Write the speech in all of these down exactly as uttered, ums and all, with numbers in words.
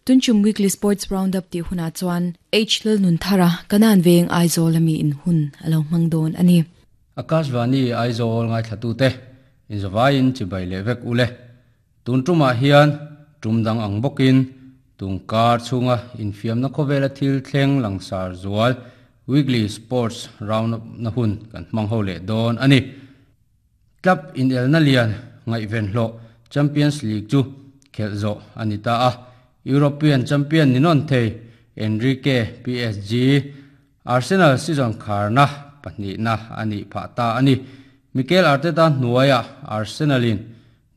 Tunchum weekly sports roundup ti huna chuan H Lalnun Thara kanan veng Aizawl ami in hun alo mangdon ani. Akashvani Aizawl ngai thlatu te in zawain chibai le vek ule tun tuma hian tumdang ang bokin tungkar chunga infiam na khowela thil thleng langsar zual weekly sports roundup na hun kan hmang ho le don ani. Club in el na lian ngai ven hlo Champions League chu khelzo anita a European champion ninon thei Enrique P S G Arsenal season kharna pahnih na ani pha ta ani. Mikel Arteta nuaya Arsenalin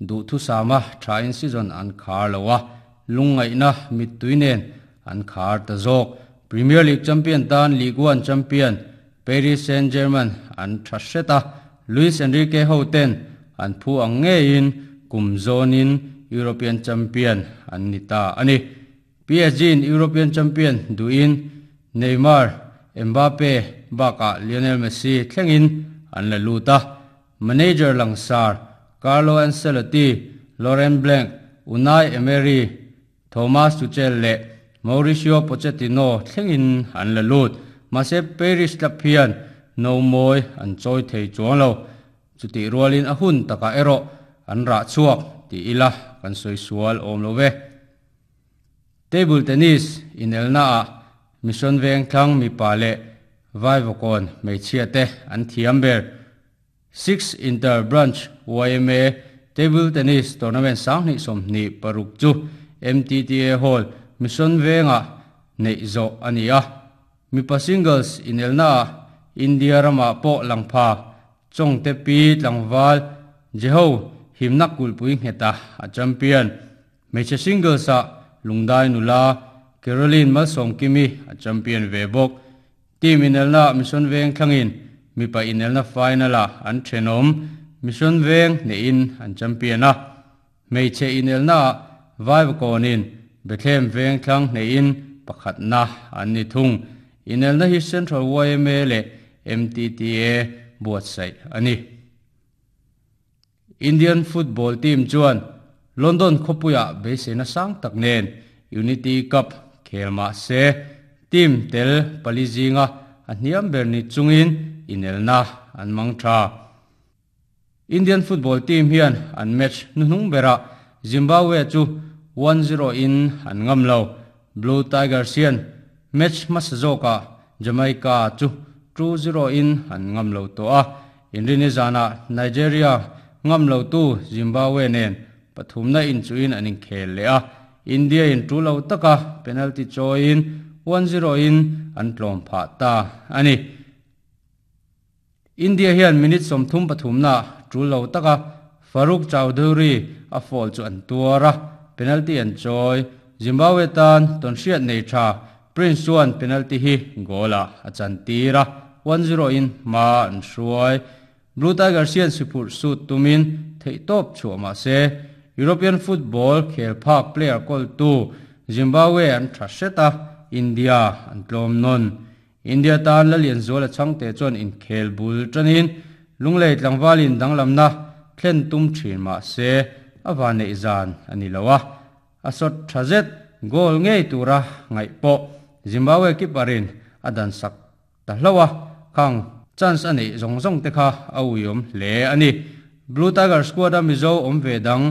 du thu sama thain season an khar lowa lungai na mituinen an khar ta jok. Premier League champion tan Ligue one champion Paris Saint-Germain an thaseta Luis Enrique hoten an phu ang nge in kumzonin European champion an nita ani. P S G in European champion duin Neymar, Mbappe baka Lionel Messi thlengin an la luta. Manager langsar Carlo Ancelotti, Laurent Blanc, Unai Emery, Thomas Tuchel le Mauricio Pochettino thlengin an la lut. Mase Paris Lapian no moi an choi thei chuang lo chuti rualin a hun taka ero an ra chuak ti ila kan soi sual om lo ve. Table tennis in elna a mission veng thlang mi pale vai vokon meichhia te an thiam ber. Six inter branch Y M A table tennis tournament sang ni som ni paruk chu M T T A hall mission venga nei zo ania. Mipa singles in elna India rama po langpha chong te pi tlangwal jeho himna kulpui ngeta a champion. Meche singles a lungdai nula Caroline Malsom Kimi a champion ve bok. Team in elna mission veng thlangin mipa in elna final a an thenom mission veng ne in an champion a. Meche in elna vai konin Bethlehem veng thlang ne in pakhat na an ni thung. In elna hi Central Y M A le M T T A buat sai ani. Indian football team chuan London khopuya beisena sang tak nen Unity Cup khelma se team tel palizinga a hniam berni chungin inelna an mangtha. Indian football team hian an match nuhnung bera Zimbabwe chu one zero in an ngam lo. Blue Tigers hian match masazoka Jamaica chu two zero in an ngam lo to a. Inrini zana Nigeria ngam lo tu Zimbabwe nen pathumna in chu in anin khel le a. India in two lo taka penalty choin one zero in an tlom pha ta ani. India hian minute som thum pathumna two lo taka Farooq Chowdhury a fall chu an tuara penalty an choi. Zimbabwe tan ton hriat nei tha Prince Chuan penalty hi gola a chan tira one zero in ma an hruai. Blue Tigers hian sipur su tumin thei top chu ma se European football khel phak player kol tu Zimbabwe an tha seta India an tlom non. India tan la lian zola changte chuan in khel bul tanin lunglei tlangwalin danglamna thlen tum thin ma se awane izan ani lowa asot thazet goal ngei tura ngai po Zimbabwe kiparin adan sak ta hlowa khang chance ani zong zong te kha a uyom hle ani. Blue Tiger squad a Mizo om ve dang